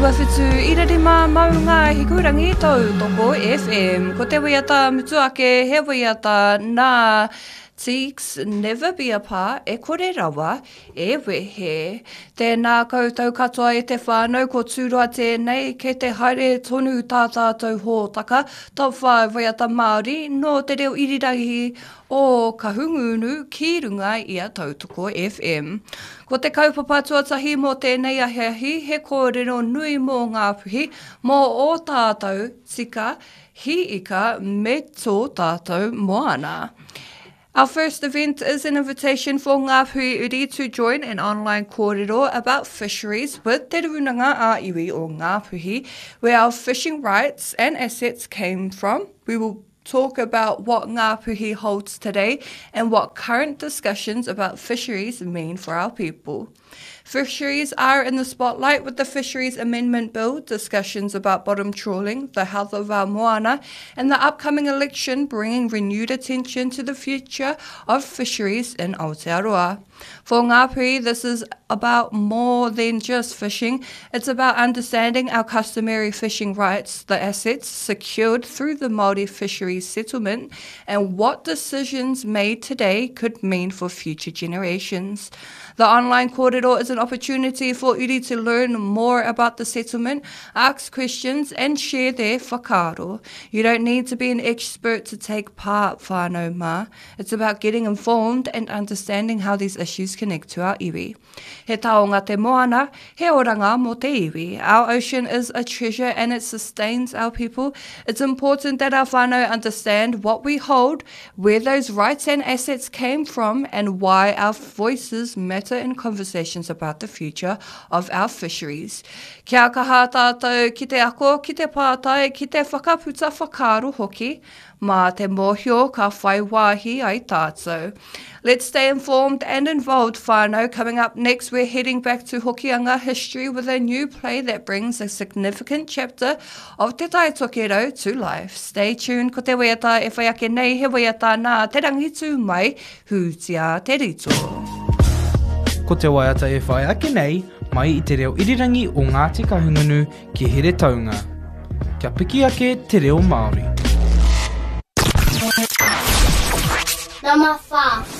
97.5 Maunga Hikurangi Tautoko FM. Ko te waiata mutu ake he waiata nā Teeks Never Be Apart e kore rawa e wehe. Tēnā koutou katoa e te whānau, ko Tūroa tēnei, kei te haere tonu tā tātou hōtaka Top 5 Waiata Māori nō te reo irirangi o Kahungunu ki runga i a Tautoko FM. Ko te kaupapa tuatahi mō tēnei ahiahi he kōrero nui mō Ngāpuhi, mō ō tātou tika, hī ika me tō tātou moana. Our first event is an invitation for Ngāpuhi uri to join an online kōrero about fisheries with Te Rūnanga a Iwi o Ngāpuhi, where our fishing rights and assets came from. We will talk about what Ngāpuhi holds today and what current discussions about fisheries mean for our people. Fisheries are in the spotlight with the Fisheries Amendment Bill, discussions about bottom trawling, the health of our moana, and the upcoming election bringing renewed attention to the future of fisheries in Aotearoa. For Ngāpuhi, this is about more than just fishing. It's about understanding our customary fishing rights, the assets secured through the Māori fisheries settlement, and what decisions made today could mean for future generations. The online kōrero is an opportunity for uri to learn more about the settlement, ask questions and share their whakaaro. You don't need to be an expert to take part, whānau mā. It's about getting informed and understanding how these issues connect to our iwi. He taonga te moana, he oranga mō te iwi. Our ocean is a treasure and it sustains our people. It's important that our whānau understand what we hold, where those rights and assets came from, and why our voices matter in conversations about the future of our fisheries. Kia kaha tātou ki te ako, ki te pātai, ki te whakaputa whakaaro hoki, Mā te mōhio ka whai wāhi ai tātou. Let's stay informed and involved whānau. Coming up next we're heading back to Hokianga history with a new play that brings a significant chapter of Te Tai Tokerau to life. Stay tuned, ko te waiata e whai ake nei he waiata nā Te Rangitūmai, Hūtia Te Rito. Ko te waiata e whai ake nei, mai i te reo irirangi o Ngāti Kahungunu ki Heretaunga. Kia piki ake te reo Māori. Number 4.